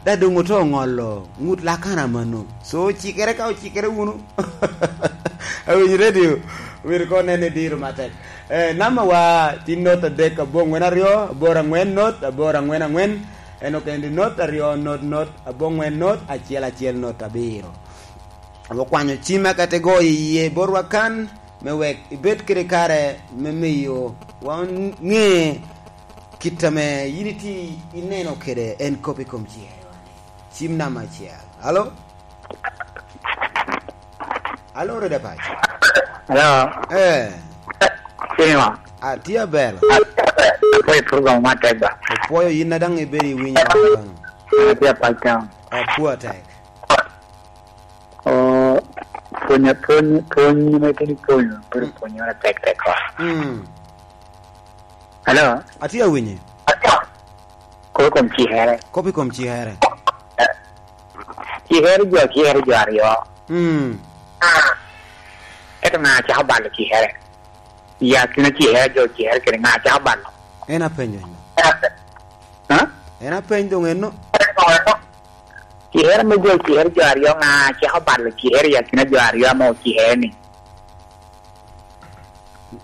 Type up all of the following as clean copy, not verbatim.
Da dong oto ngolo ngut lakana mano. So ocikere ka ocikere wunu. Awinyo radio myero ko nen ni diro matek. Eh, namba wa ti not adek abongwen aryo aboro angwen not aboro angwen angwen eno kendi not aryo not not abongwen not achiel achiel not abiro. Wakwanyo cim ka te goyo iye botwa kan me wek ibed kede kare me miyo wa nge Kit ame in itye ineno kwede en kop i kom cihewa-ni. Cim namba acel. Alo? Alo, Redo Apac? Alo. Eh. Cinema. Atye aber. Apwoyo program matek ba. Opwoyo in na dang ibedo iwinyo wan kono. Atye Apac town. Apwo tek. Oh, pwonyo pwony pwony ma itye pwonyo bedo pwony ma tek tek ko. Mm. Alo. Atye ka winyi. Kop i kom cihere. Kop i kom cihere. Cihere jo cihere jo aryo. Mm. Ento nga cako balo cihere? I akina cihere jo cihere kede nga cako balo? En apenyo eno. Ha? En apeny dong eno. Cihere me jo cihere jo aryo nga cako balo cihere i akina jo aryo ma ocihere ni?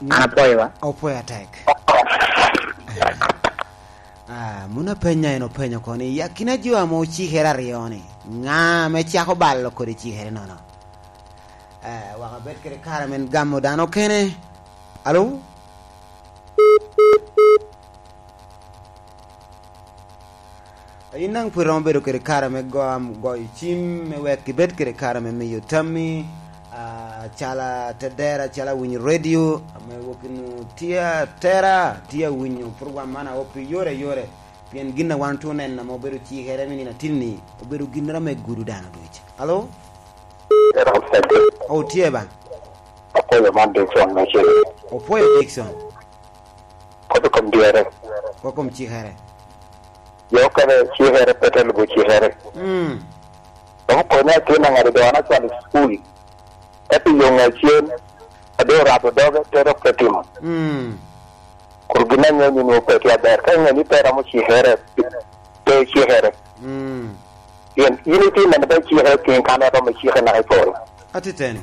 An apwoyo wa. Opwoyo atek. Ah, mun apenya en openyo ko ni, ya kine jo ame ocikere aryo-ni, nga me cako balo kodi cikere nono? Eh, wek abed kede kare me gamo dano kene. Alo? In dong pud iromo bedo kwede kare me goyo cim me wek ibed kwede kare me miyo tammi calo tedera calo awinyo redio me wok inu tye atera tye awinyo program man aopi yore yore pien gin na wan otwo neno ma obedo cikere me nino atinni obedo ginera me gudo dano duc. Alo? Oh, tye ba? Opwoyo man Dickson me cilo. Opwoyo Dickson. Kop i kom dyere. Kop i kom cikere. Jo okene cikere pe te lubo cikere. Dok okonya atin angado dogana acwalo i cukul, ento i yo nge cen adong orabo doge pe dok pe timo. Kor gin ange ni nongo pe tye aber. Ka inge ni pe romo cikere, pe icikere. Pien in itye neno pe icikere pien kan en romo icike naka i polo. Atiteni.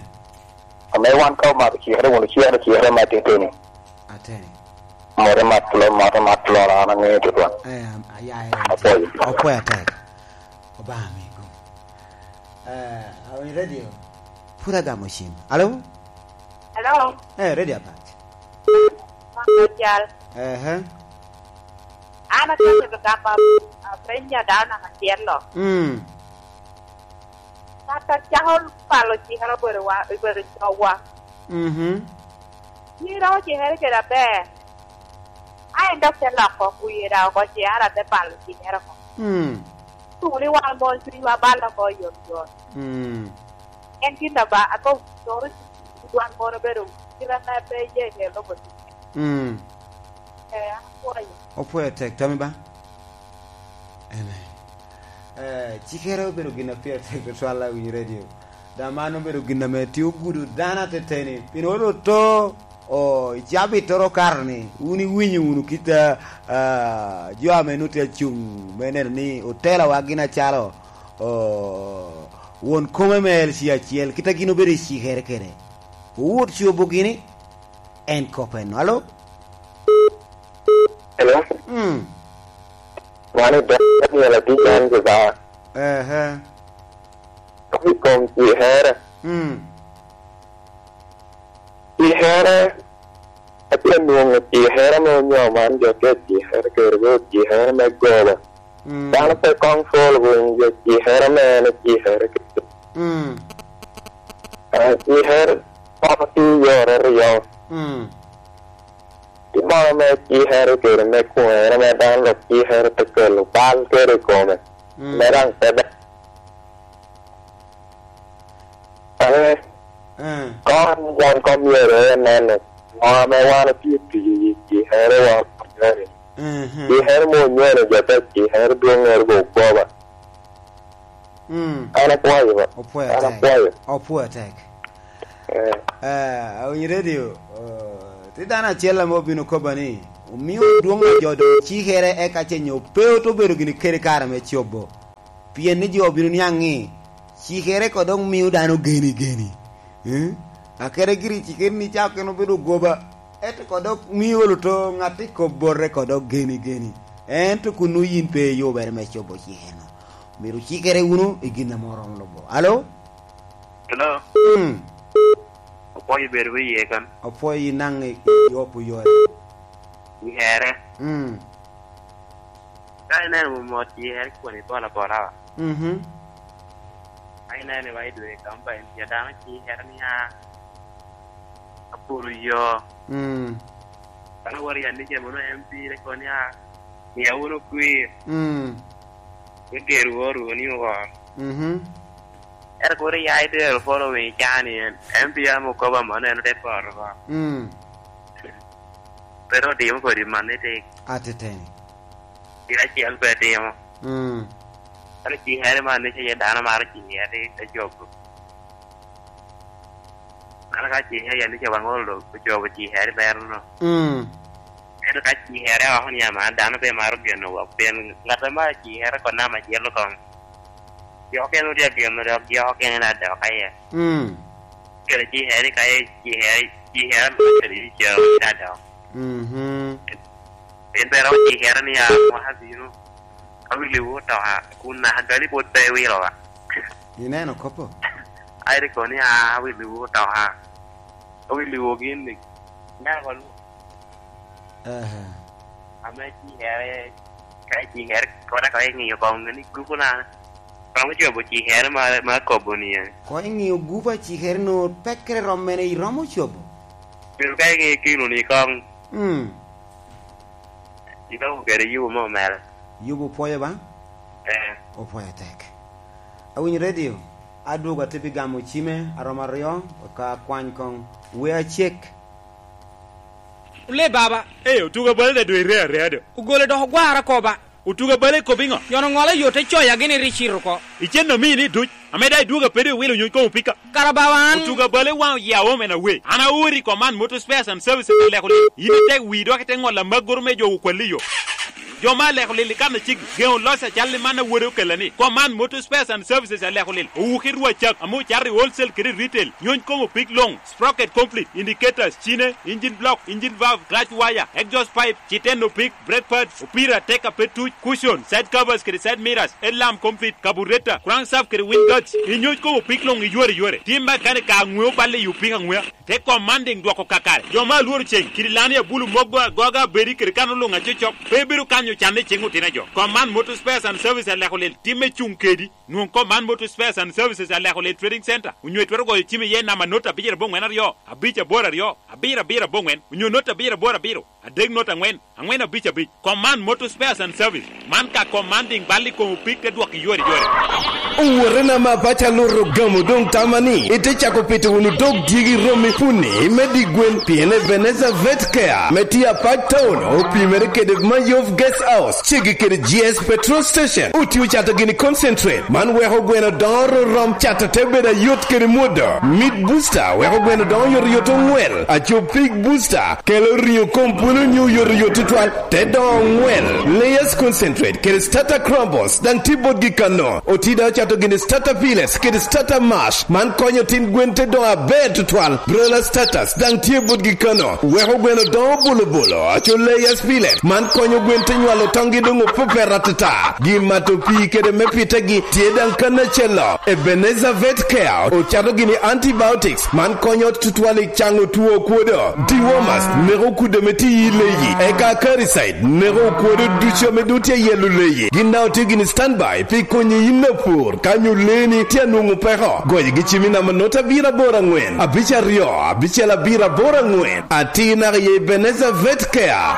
Ame wan ka omako cikere wun wucikere cikere ma atiteni. Ateni. Mote mat plo mote mat plora an angeyo tutwal. Eh, ayaye Apwoyo. Opwoyo atek. Obanga mi gum. Eh, awinyo radio. Pud agamo cim. Alo? Alo. Eh, radio apac. Mama cal. Eh, eh. An aketo lugamba apenyo dano namba acel-lo. Mm. Kata cako palo cikere obedo wa obedo cogwa. Mhm. In iromo cikere kede aber. A en dok te loko wiye da oko ci ara te balo cikere oko. Mm. Tung ni wan mon cwinywa balo oko yot yot. Mm. En gin na ba ako toro wan mon obedo kite me pe ye ke lobo cikere. Mm. Eh, an apwoyo. Opwoyo tek tami ba. Amen. Eh, cikere obedo gin na pire tek tutwal awinyo radio. Da man obedo gin na me tiyo gudo dano ateteni pien olo to o i cabit toro okato ni wun iwinyo wunu kit uh, jo ame nongo tye acung me neno ni otela wa gin acalo o won kome me LC acel kita gin obedo i cikere kede owot cobo gini en kop eno. Alo? Hello. Mm. Mano Daniel Adija an Jubaa. Ehe. I kom cihere. Mm. Cihere, atye ka nwongo cihere me onyo man jo tye cihere kede bedo cihere me goba. Mm. Dano pe kong pol winyo jo cihere me en cihere kede. Mm. Ah, Cihere kono tye yore ryo. Mm. Ki mono me cihere kede me kwere me dano dok cihere pe kelo bal kede i kome. Mm. Me dang pe ber. Ee, Eh. kon wan ko myero aye neno ngo me wan otye tiyo i cihere wa onyoni. Mhm. Cihere mo onyoni jo te cihere dwong eri bo goba. Mm. An apwoyo ba. Opwoyo An tek. apwoyo. Opwoyo tek. Eh. Eh, awinyo radio. Uh, ti dano acel ame obino koba ni omiyo dwong a jo dong cikere eka ce nyo pe oto bedo gini kede kare me cobo. Pien ni jo obino niang ni cikere ko dong miyo dano geni geni. Eh? Akere giri cikere ni ca kene obedo goba. Ento ko dok miyo luto ngati kop bote ko dok geni geni. Ento kunu in pe iyubere me cobo cikeno. Myero cikere wunu i gin ma oromo lubo. Alo? Hello. Opwoyo bedo wi iye kan. Opwoyo in nang i opo yore. I here. Ka ineno mot i here kwoni bola bola wa. Ka ineno wa i dwe kampain ca dano ci here ni a apuro yo. Dano woto i anice mono MP ne koni a miya wunu kwir. Me ger wor ni owor. Ento kodi ya itero following i caa ni en MP amo koba ma neno te poto ko. Pe dong otimo kodi man ni tik. Ateteni. Gin acel pe timo. Ento ci here man ni ce dano maro ci here te cobo. Mano ka ci here ni ce wangolo dong ocobo ci here mero no. Ento ka ci here oko ni ama dano pe maro geno wok pien ngat ma maro ci here ko nama celo kong. Jo kene otye geno dok jo kene na dok aye. Kelo ci here ka ye ci here ci here ma kelo ci cero na dok. Pien pe romo ci here ni ya mwaka bino ka wi liwu otoka kun naka gali pwod pe iwilo wa. Ineno kopo? Ai ri ko ni a wi liwu otoka ka wi liwu gin ni ineno ko lu. Ame ci here ka ci here kona ka ingiyo kong ni gupu na romo cobo ci here ma ma kobo ni eh. Ko ingiyo gupu ci here no pekre rom mene iromo cobo? Bedo ka ingiyo kilo ni kong. Iromo kede yubu mo mere. Yubu opwoyo ba? Eh. Opwoyo tek. Awinyo radio adwogo ate pi gamo cime aromo aryo ka akwany kong we acek. Ule baba. Ee, otuga bale da dwe rea rea do. Ogole dok ogwara ko ba. Otuga bale kob ingo? Yono ngolo yo te coya gini ri cito ko. Icen no mini duc, ameda idwoga pede iwilo nyuny kom opika. Kara baba an. Otuga bale wang oya home and away. An aori Command Motor Spares and Services aleko lil. In itek wii dok ite ngol lamak goro me jogo kwali yo. Jo ma aleko lil ikan acigi, gengo loss acal li man awode okela ni Command Motor Spares and Services aleko lil. Owuki rwa cak, amu cato i wholesale kede retail, nyuny kom opik long. Sprocket complete, indicators, cine, engine block, engine valve, clutch wire, exhaust pipe, citen opik, brake pads, opira, teka pe tuc, cushion, side covers kede side mirrors, headlamp complete, carburetor, crankshaft kede wind guards. Inyuc kom opik long iywer iywer. Tim makanika angwe oballe i opik angweya. Te commanding dwoko kakare. Jo ma alworo ceng, kidi lani abulu mogo agoga abedi kede kano lung acocok, pe bedo kanyo canne ceng otina jo. Command Motor Spares and Service aleko lil, timme cung kedi. Nwong Command Motor Spares and Services Aleko Lane Trading Centre onyo itwero goyo cim iye namba not 9 82 5 8 2 7 8 onyo not 7 8 7 3 0 4 4 5 5. Command Motor Spares and Service man ka commanding bal i kom opik te dwoko iyore yore. Owotena ma apaca luto ogamo dong tama ni ite cako pito wunu dog dyegi romi puni me di gwen pien Ebenezer Vet Care me tye apac town opimere kede Mayov Guest House Cegi kede GS Petrol Station otiyo cato gini concentrate man weko gweno dongo rorom cato te bedo ayot kede mwodo. Meat booster weko gweno dongo yotoyot ongwel. Aco pig booster kelo ringo kom pwelo nyo oyotoyot tutwal te dongo ongwel. Layers concentrate kede starter crumbles dang tye botgi kano. Otida ocato gini starter pellets kede starter mash man konyo tin gwen te dongo aber tutwal. Broiler starters dang tye botgi kano weko gweno dongo bolobolo. Aco layers pellet man konyo gwen te nywalo tongi dong opupe ratata. Gi mato pii kede me pitegi tye dang kanacello. Ebenezer Vet Care ocato gini antibiotics man konyo tutwal i cango two okwodo, dewormers, neko okudo me tye i leyi, eka acaricide, neko okwodo ducu ame dong tye iye luleyi. Gin dang otye gini standby pi konyo in lapur ka nyo leni tye anwongo peko. Goyo gi cim i namba not abiro aboro angwen abic aryo abicel abiro aboro angwen atir naka i Ebenezer Vet Care.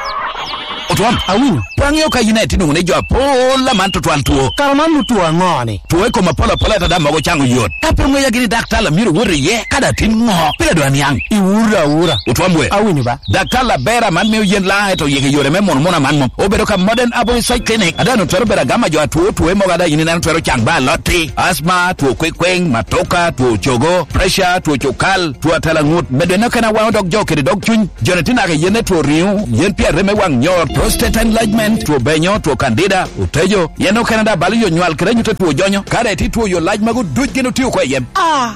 Otwom, awinyo. Pe angeyo ka in aye itye nongo ni jo apol aman tutwal two. Kara man lutwo ango ni? Two i kom apol apola ento dano mogo cango yot. Ka pe ongeya gini daktar lamyero owot iye ka dong atim ngo? Pire dong aniang. Iwuro awura. Otwom we. Awinyo ba. Daktar laber aman miyo yen laa ento oyiko i yore me muno muno aman mom. Obedo ka Modern Herbal Research Clinic ada onongo twero bedo agama jo atwo two mogo ada in ineno twero cang ba alot-ti, asthma, two kwikwing, matoka, two cogo, pressure, two cukal, two atala ngut, medo eno kene awango dog jo kede dog cuny. Joni tye naka i yene two ringo, yen pi arem me wang nyor. Prostate enlargement, two benyo, two candida, otejo, yen okene da balo yo nywal kede nyute two jonyo. Kade ti two yo lac mago duc gin otiyo ko iye.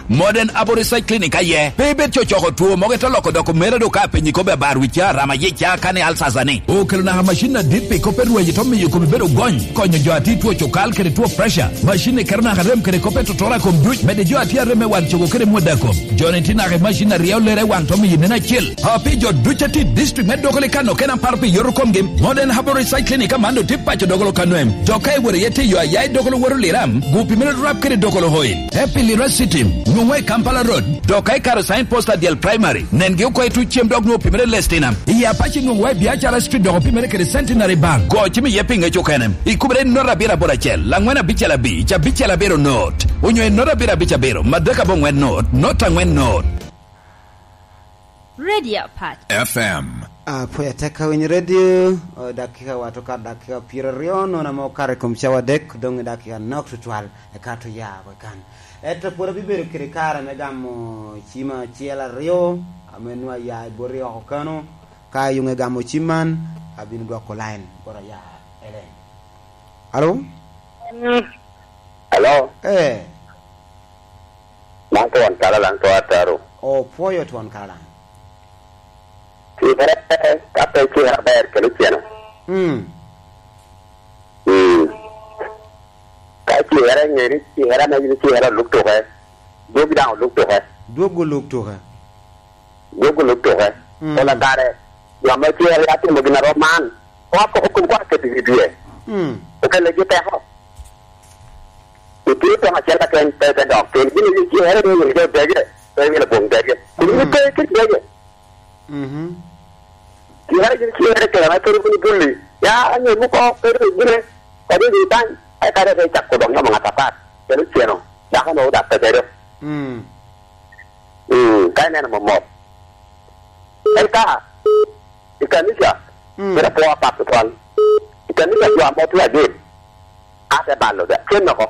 Modern Herbal Research Clinic aye pe ibed cocoko two mogo ite loko doko mere do ka penyi kobe abar wic ca, rama yic ca, kani ulcers ani. Okelo naka machine ladit pi kope rwenyo to miyo komi bedo gony, konyo jo ati two cukal kede two pressure. Machine ni keto naka rem kede kope totora kom duc, mede jo ati arem me wang cogo kede mwoda kom. Joni ti naka i machine aryeyo lere wang to miyi neno acel. A Pi jo ducu ati district me Dokoli Kano kena par pi yoto komgi, Modern Herbal Research Clinic ka man do ti paco Dokolo Kanoem. Jo ka iwero iye ti yo aya i Dokolo woto liram, gupi meno rap kede Dokolo hoi. E pi Lira City, nongo i Kampala Road, dok ka ikato sign post adyel Primary, nen gi oko i tuc cem dok nongo opimere Lestina. I Apac inongo wa i Biacara Street dok opimere kede Centenary Bank. Go cim iye pi ngec okene. I kubere not abiro aboro acel, langwen abicel abic, abicel abiro not, onyo i not abiro abic abiro, madek abongwen not, not angwen not. Radio Apac. FM. Apoya tek ka winyo redio, dakika wato kar dakika pyeraryo nono ma okato i kom cawa adek dong i dakika nok tutwal eka to ya wek kan. Ento pwod abibedo kede kare me gamo cim acel aryo me nwo aya i boti oko keno. Ka ayunge gamo cim man, abino dwoko lain bot aya Ellen. Alo? Alo? Ee. Man twon kalalang to ataro. Opwoyo twon kalalang. Cikere ka pe icikere aber kelo cene. Ka icikere nge ni cikere me in icikere olub tuke, dwogi dang olub tuke. Dwogi olub tuke. Dwogi olub tuke. Pola kare jo ma icikere ya timo gin arom man, kwa koko kom kwa keto i wi dye, okele gi teko. Itye tong acel keken pe te dok piny. Gin aye cere ni wilo jo dege, pe wilo bong dege. Kun in pe ki dege. Cere gin cere kere ma kadi wun bulli. Ya anyo muko kadi wun gine kadi wun tany ai kadi pe cako dong yomo ngat apat kelo ceno dako no odak pe bedo. Ka ineno momot. Eka i kanica bedo apo apat tutwal. I kanica jo amot tye adek. Ate balo da cen oko.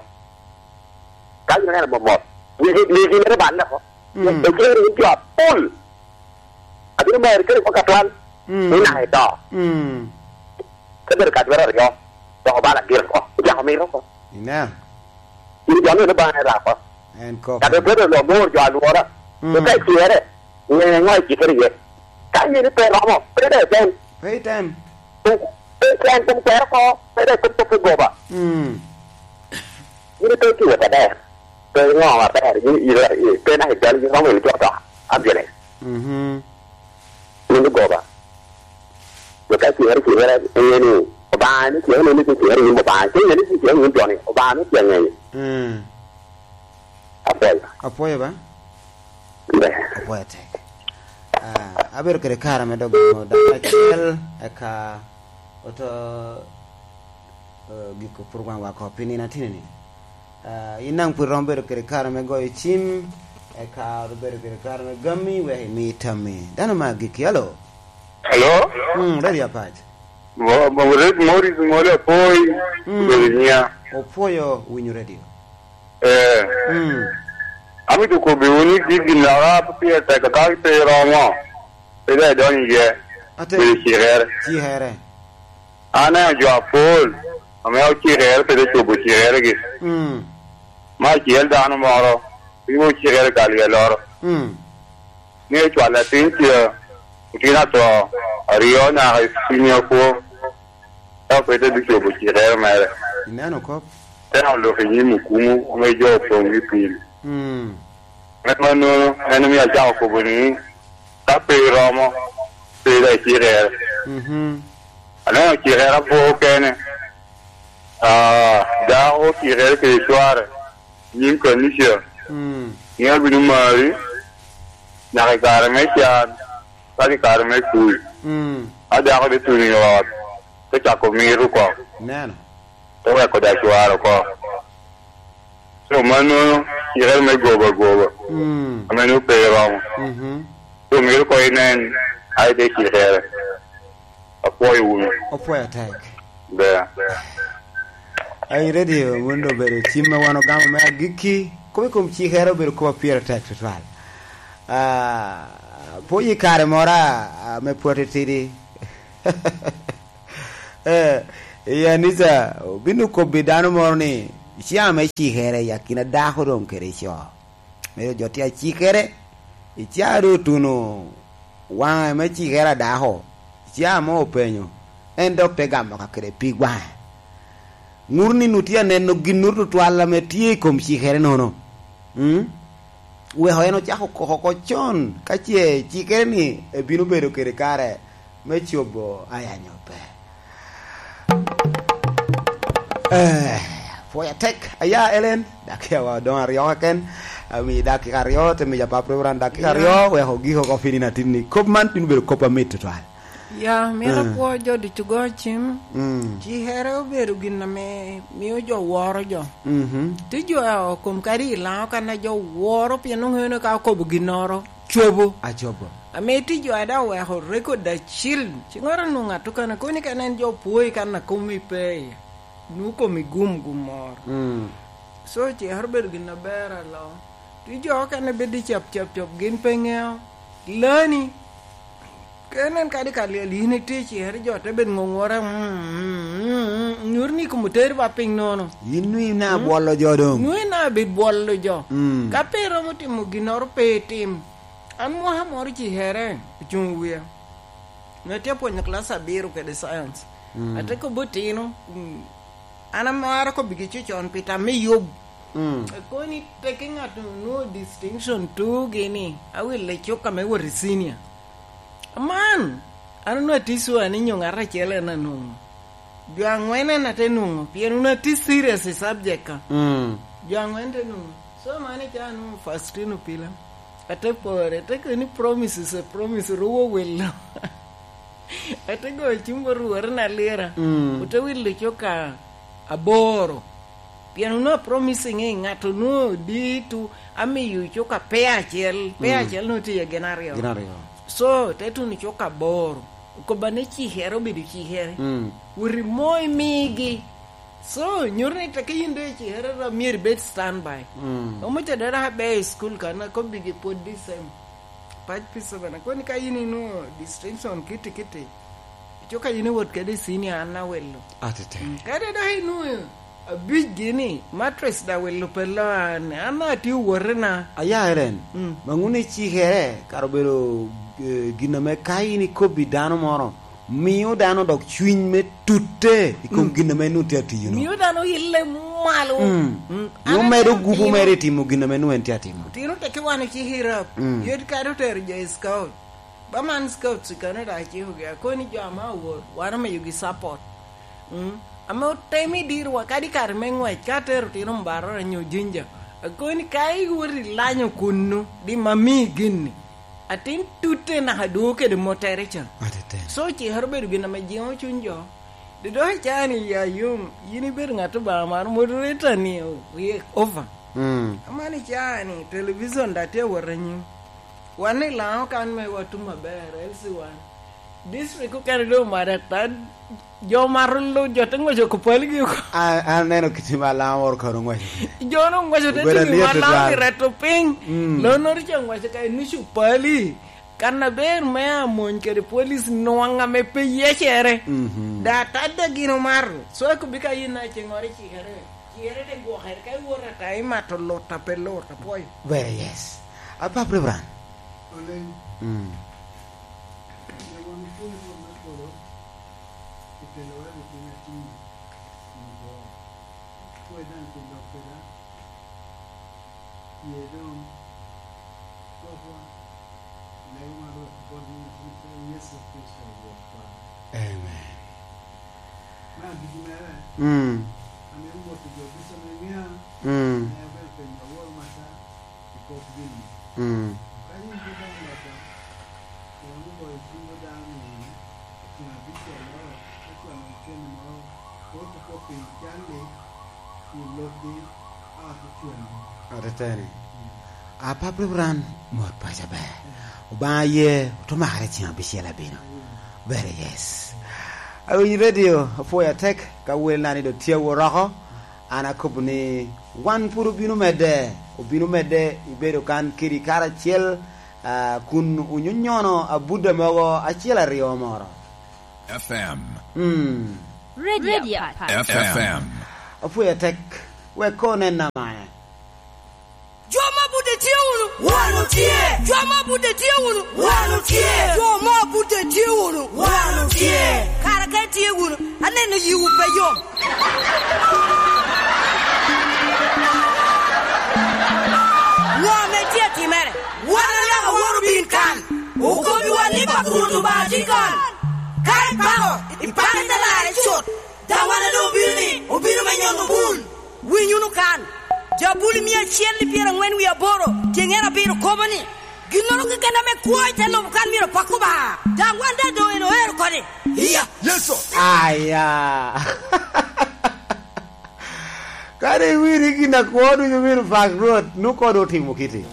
Ka in ineno mot mot, wigi mere balle oko. Ecero in jo apol. Abino meri kadi gwok atwal, ni naka ito. Te bedo ka twero aryo, dok obalo agir oko, ocako mito oko. In jo ni Lubanga en rako. Ka bedo lomor jo alwora, to ka icere, nge ngo icikere iye. Ka in pe romo, pe dong item. Pe item. Pe icen kom kwero oko, pe dong ikom kop me goba. In pe itiyo maber, pe ingo maber, pe naka ijalo in romo ilo to abjele. In lugoba. Jo ka icere cere inge ni Obanga ni cere ni cere nyim Obanga, ce inge ni cere nyim joni, Obanga ni tye ngeye. Apwoyo. Apwoyo ba. Ber. Apwoyo tek. Abedo kede kare me dok gamo dano acel eka oto giko program wa ko pi nino atini ni. In nang pud iromo bedo kede kare me goyo cim eka oto bedo kede kare me gami wek imi tammi. Dano ma agikki. Alo. Alo. Radio Apac. Maurice Ngoli Apoi obedo nyiya. Opwoyo winyo radio. Ee. Amito kobiwu ni gigi naka pe pire tek ka pe iromo, pe dong idonyo iye, bedo cikere. Cikere. An aneno jo apol ma mito cikere pe dong cobo cikeregi. Me acel dano moro ribo cikere ka lyel oro ni ecwalo latin ce otin ato aryo naka i cwinye okwo ento pe te bicobo cikere mere. Ineno kop? Temo lok i nyim okumu ma jo opong ki pil. En ma nono en omiyo acako kobo ni, Ka pe iromo, pe dong icikere. Aneno cikere abor kene, dako ocikere kede cware i nyim kanica ni abino mari nyaka i kare me can kadi i kare me kuc. Ka dako dong otuno i ot, te cako mito kong. Te weko da cware oko. Co ma nongo cikere me goba goba ma nongo pe romo. Co myero kong inen aye te cikere. Apwoyo wunu. Opwoyo tek. Ber. Ai radio mondo obedo cim ma wan ogamo me agikki kome kom cikere obedo koma pire tek tutwal. Ah, pwonyo i kare mora me pwoti tidi. Eh, i anica obino kobbi dano moro ni icaa me cikere i akina dako dong kede co. Medo jo tye acikere, icaa dong otuno wange me cikere a dako, icaa mo openyo, en dok te gamo ka kede pig wange. Ngut ni nut tye aneno gin-nu tutwal ame tye i kom cikere nono. Mm. Weko en ocako koko oko con ka ce cikere ni ebino bedo kede kare me cobo aya nyo pe. Eh, pwoya tek aya Ellen, dakika wa odong aryo keken. Amiyi dakika aryo, te mica Pap Reverend dakika aryo wek ogik oko piny nino atinni. Kop man bino bedo kop mamit tutwal. Ya, mito apwo jo ducu go cim. Ci here obedo gin na me miyo jo woro jo. Ti jo kom kadi i lango ka na jo woro pien nongo eno ka okobo ginoro cobo. Acobo. Ame ti jo ada oweko record acil ci ngoro nongo atukane koni ka nen jo pwoyi ka na komi pe iye nongo komi gum gum moro. So ci hero bedo gin na ber alo. Ti jo okene bedo cap cap cap gin pe ngeo lani. Ka inen kadi ka lyel in itye i cere, jo te bed ngongore, nyuto ni kom oteri ba piny nono. In nwi na bwolo jo dong. Nwi na bed bwolo jo. Ka pe iromo timo ginoro pe itim. An mwaka moro ci here ocung i wiya. Nongo atye pwonyo kilac abiro kede science. Ate kobo otino, an amaro kobigi cucon pi tam me yub. Koni teke ngat onongo distinction tugi ni awilo cuka me wot i senior. Man, an onongo atye sure ni nyo ngat acel en anongo. Jo angwen en ate nongo pien onongo atye serious i subject ka. Jo angwen te nongo. So man i ca anongo Faustino Pila. Ate pore, ate koni promise is a promise ruwo wilo. Ate goyo cim bot rwore na lira. Ote wilo cuka aboro. Pien onongo a promising ni ngat onongo oditu amiyo cuka peya acel, peya acel nongo tye iye gin aryo. Gin aryo. So te tunu cuka aboro. Okoba ni cikere obedo cikere. Woti mo imigi. So nyuto ni teke in dong icikere dong myero ibed stand by. Omuca dong dok aber i school kany akobigi pwod the same. Pac pi seven akoni ka in inongo distinction kiti kiti cuka in iwot kede i senior an awilo. Atete. Kadi dok inongo Abic gini, mattress da wilo pe lo an, an atye wote na. Aya Ellen, ma ngune cikere kara obedo gin ame ka in ikobi dano moro, miyo dano dok cwiny me tute i kom gin ame nongo tye atiyo no. Miyo dano ile malo. Nyo medo gupu mere i timo gin ame nongo en tye atimo. Otino teke wan ci hirap, yot kadi otero jo i scout. Ba man scouts i Canada aciko gi akoni jo ama awot wan omiyo gi support. Ame otemo i dirwa kadi i kare me ngwec, ka atero tino Mbarara nyo Jinja, akoni ka iwoto ilanyo kunnu di ma miyi gin-ni, atin tute naka dwogo kede motere ca. So cikere obedo gin ame jingo cwiny jo. Di dok i caa-ni ya yom, in ibedo ngat Lubanga maro, moderator ni ryek over. Amano i caa-ni television dong atye wot anyim. Wan i lango kan mewa tum maber, LC1. District okene dong omaro ata jo mato lu jo te ngweco ko paligi oko. An aneno kiti ma lango moro kano ngweco kwede. Jo no ngweco te Obedo timi ma lyet lango tutwal. ki reto piny. Lono ri ca ngweco ka inucu pali. Kana ber me amony kede police nwanga me pe yecere. Da tada gin omato. So eko bika yin na ceng ore cikere. Cikere te gwokere ka iwoto ata imato luta pe luta pwoyo. Very yes. Apap Reverend. Oleng. Myero wan wapwony Rwot me polo pi telowa i wi piny atir nyo kwo. Pwoye dano pi lok kweda, ye dong gwokwa i lego ma Rwot bot nying latin acel Yecu Kricito Rwotwa. Amen. Me agikki mere, amito moto jo ducu ma ingeya me abedo penyo aworo mata i kop gin-ni. Kadi in pe dong lota, iromo goyo cim bot dano ni ceng abicel ka cwalo cente moro photocopy cal-li ci ilubgi ot icwalgi. Ateteni, Apap Reverend mot paca ber. Obanga ye otumakre ceng abicel abino. Very yes. Awinyo radio apwoyo atek ka wel na ni do tye woroko. An akobo ni wan pud obino medde, obino medde ibedo kan kedi karacel kun wunyonyono abuda mogo acel aryo moro. FM. Mm. Radio Apac. FM. Apwoyo tek wek kor nen namane. Jo ma bude tye wunu? Wan otye. Jo ma bude tye wunu? Wan otye. Jo ma bude tye wunu? Wan otye. Kara ka itye wunu, aneno yiwu pe yom. Ngo ma itye atimere? Wan alaka wot obin kan, okobiwa ni pa Rwot Lubanga tye kan. Ka ipako, ipake te larre cut. Dangwana dong obino ni obino me nyono bul. Winy wunu kan, Jabuli 148 tyeng en abiro kobo ni, Ginnoro keken ame kwo i te lobo kan myero opak Lubanga. Dangwan da dong en oero kodi. Iya. Yecu. Aya! Kadi iwiri gin akwo ducu myero opak Rwot, nongo kod otimo kiti.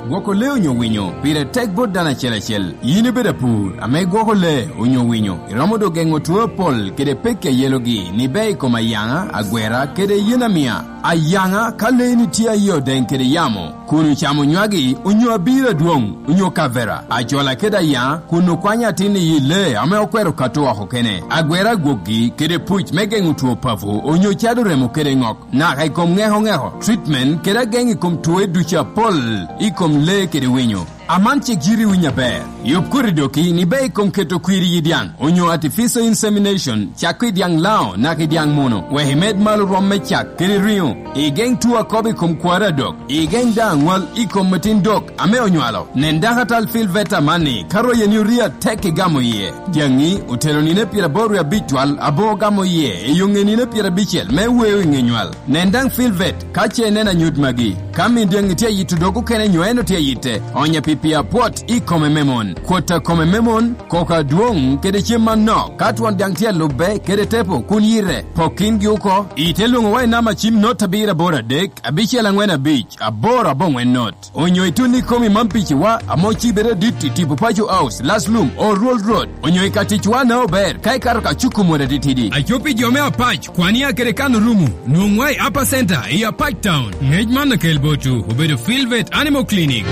Gwoko lee onyo winyo pire tek bot dano acel acel. In ibedo apur ame igwoko lee onyo winyo, iromo do gengo two apol kede pekki ayelogi nibe i kom ayanga, agwera, kede yen amiya. Ayanga ka lee ni tye aye odeng kede yamo, kun ocamo nywagi onyo abiro adwong onyo kavera, acola kede ayanga kun okwanyo atin iyi lee ame okwero kato woko kene. Agwera agwokgi kede puc me gengo two pavu onyo cado remo kede ngok. Naka i kom ngeko ngeko, treatment, kede ageng i kom twoe ducu apol i kom lee kede winyo. Aman cik jiri winy aber. Yub kori doki ni ber i kom keto kwiri yi dyang onyo artificial insemination cako i dyang lao naka i dyang muno wek imed malo rwom me cak kede ringo. Igeng two akobo i kom kwari adok. Igeng daa angwal i kom matin dok ame onywalo. Nen dako atal fil veta man ni ka roye ni oriya tek igamo iye. Dyangi otelo nine 85 twal aboo gamo iye i yo nge nine 50 me weyo i nge nywal. Nen dang fil vet ka ce inen anyut magi. Ka min dyangi tye ayito dok okene nyo en otye ayite, onya pi pii apwot i kome me mon, kwota kome me mon, koko adwong, kede cem manok. Ka twon dyang tye alubbe kede tepo kun yire, pok kingi oko. Ite lwongo wa i namba cim not abiro aboro adek, abicel angwen abic, aboro abongwen not. Onyo itun i komi man pici wa amo ci bedo dit i tipo paco house, last lum, or roll road. Onyo i ka tic wa na ober ka ikato ka cuku mwada titidi. Acopi jo me Apac kwani a kede kano rumu nwong wa i Upper Center i Apac Town. Ngec man lakel botu obedo Field Vet Animal Clinic.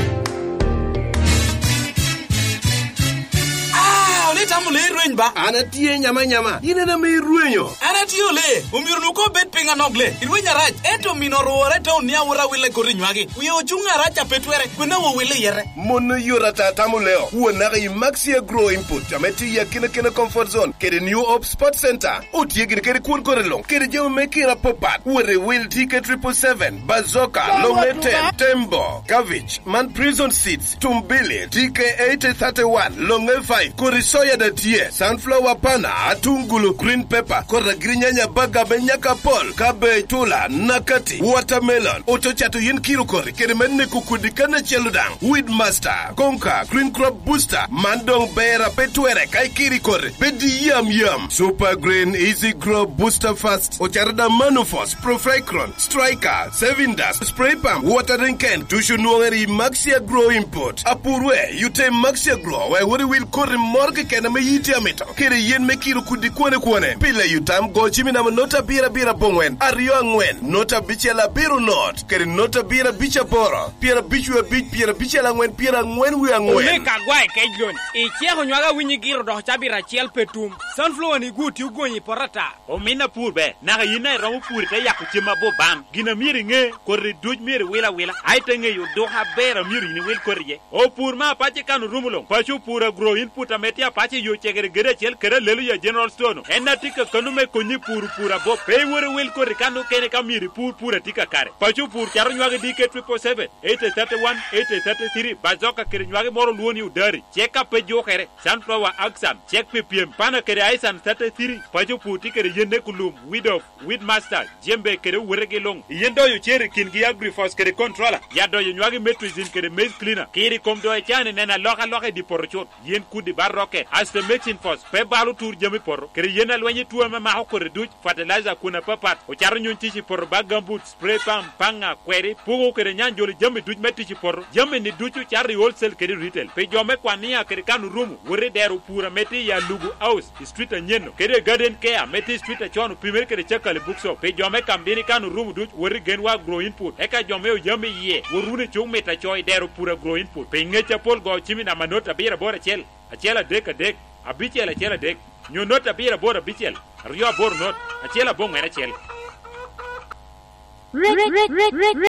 Aa, ole tamo lee irweny ba? An atye nyama nyama, in ene ma irwenyo. An atye ole, omyero onongo kor bed piny anok le. Irwenyo arac, ento mino orwore i taun ni awota wille i kor inywagi. Wiye ocung arac a pe twere, kwene wa wille iyete. Mono yot ata tamo leo won naka i Maxi Agro Input ame tye i akina kina Comfort Zone kede New Hope Sport Center. Otye gire kede kwon kore long kede jami me kira popat. Wot i wil TK triple seven, Bazooka, Longe ten, Tembo, Kavich, man Prison Seeds, Tumbili, TK 8031, Longe 5, kodi soya da tye, sunflower pana, atungulu, green pepper, kodi agirinyanya baga me nyaka pol, cabbage, tula, nakati, watermelon, oto cato yen kiro kori kede me neko kodi kana celo dang, weed master, konka, green crop booster, man dong ber ape twere ka ikiri kori, bedi yam yam, super green, easy grow, booster fast, ocato da manufos, profricron, striker, sevindas, spray pump, watering can, tucu nwongere i Maxi Agro Import. Apur we, yute Maxi Agro wek wot iwil koti moro keken ame in itye amito, kede yen me kiro kudi kwone kwone. Pile yutam go cim i namba not abiro abiro abongwen aryo angwen not abicel abiro not kede not abiro abic aboro 55 54 44. Ole ka gwa i kec lony, iceko nywag awinyi giro doko cabit acel pe tum. Sunflower ni gu ti ogonyo i poto ata. Ominna pur ber, naka in aye iromo pur ite yako cem mabor ban. Gin a myero inge, koti duc myero iwil awila, aye te ngeyo oduka aber a myero in iwil koti iye. Opur ma apac i kano rumo long, paco opur agro input ame tye apac i yo cegere gedo acel kede alelo ya General Store no. En atye ka kano me konyi puro pur abop. Pe iwot iwil koti kano kene ka myero ipur pur atye kakare. Paco opur cato nywagi DK triple seven, 8031, 8033, bazoka kede nywagi moro lwoni udari. Cek ka pe jukere, sunflower, aksan, cek pi pyem, pana kede aisan 33, paco pur tye kede yen neko lum, weed off, weed master, jembe kede owete gi lung. Yen doyo cer i kin gi agrifos kede controller, yat doyo nywagi metrizin kede maize cleaner. Kir i kom doyo cani neno aloka aloka i di poto cut. Yen kudi bar rocket, astemexin fos, pe balo tur jami poto, kede yen alweny i two me mako koti duc, fertilizer kun apapat, ocato nyony tic i poto bag gambut, spray pump, panga, kweri, puku kede nyanjoli jami duc me tic i poto. Jami ni ducu cato i wholesale kede i retail. Pi jo me kwania kede kano rumu, wot i dero pura me tye i Alugu House i street Anyeno kede i Garden Care me tye i street Acono pimere kede Cakali Bookshop. Pi jo me Kamdini kano rumu duc, wot i Genwa Agro Input. Eka jo me Oyam iye, wot wunu i cuk mita co i dero pura Agro Input. Pi ngec apol go cim i namba not abiro aboro acel, acel adek adek, abicel acel adek, nyo not abiro aboro abicel. 2 8 1 9 1.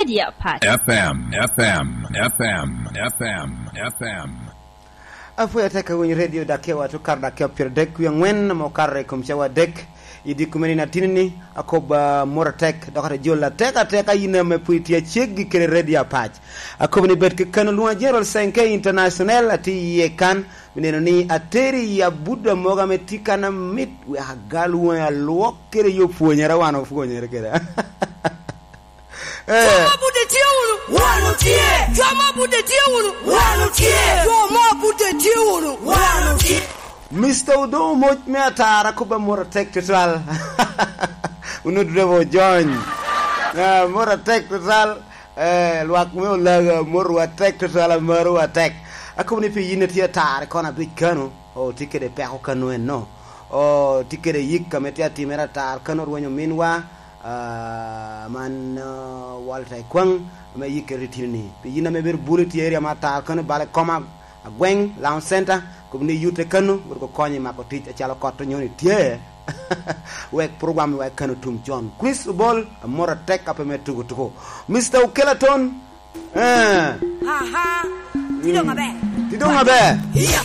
Radio Apac. FM, FM, FM, FM, FM. Apwoyo atek awinyo radio dakewa to kar dakewa 34 ma okato i kom cawa adek i dye kumeni na tinini akob mot atek dok ate jol atek ateka in me pud itye aceggi kede radio apac akobo ni bed kekeno lwonga General Senke International atye iye kan me neno ni ateri i abuda moga me tye kana mit wek agal wangi alwok kede yo pwonyere wan opwonyere kede. Jo ma bude tye wunu? Wan otye. Jo ma bude tye wunu? Wan otye. Jo ma bude tye wunu? Wan otye. Mister Odongo moc me atara koba mot atek tutwal. Onongo driver ojony. Mot atek tutwal. Lwak me olaga motowa atek tutwal amarowa atek. Akobo ni pi in itye atara i kona abic kanu. Oh tye kede peko kanu eno. Oh tye kede yik ka ma itye atimere atar kanu orwenyo minwa. Man Walter Ekwang ma iyi keto itino ni pi yin ame bedo bulu tye area ma atar kanu bale koma agweng Lounge Center kub ni yute kanu wot ko konyo i mako tic acalo kot onyo ni tye wek program wek kanu tum con Chris Obol amot atek ka pe me tuku tuku Mister Okelaton Ti dong aber. Ti dong aber. Iya.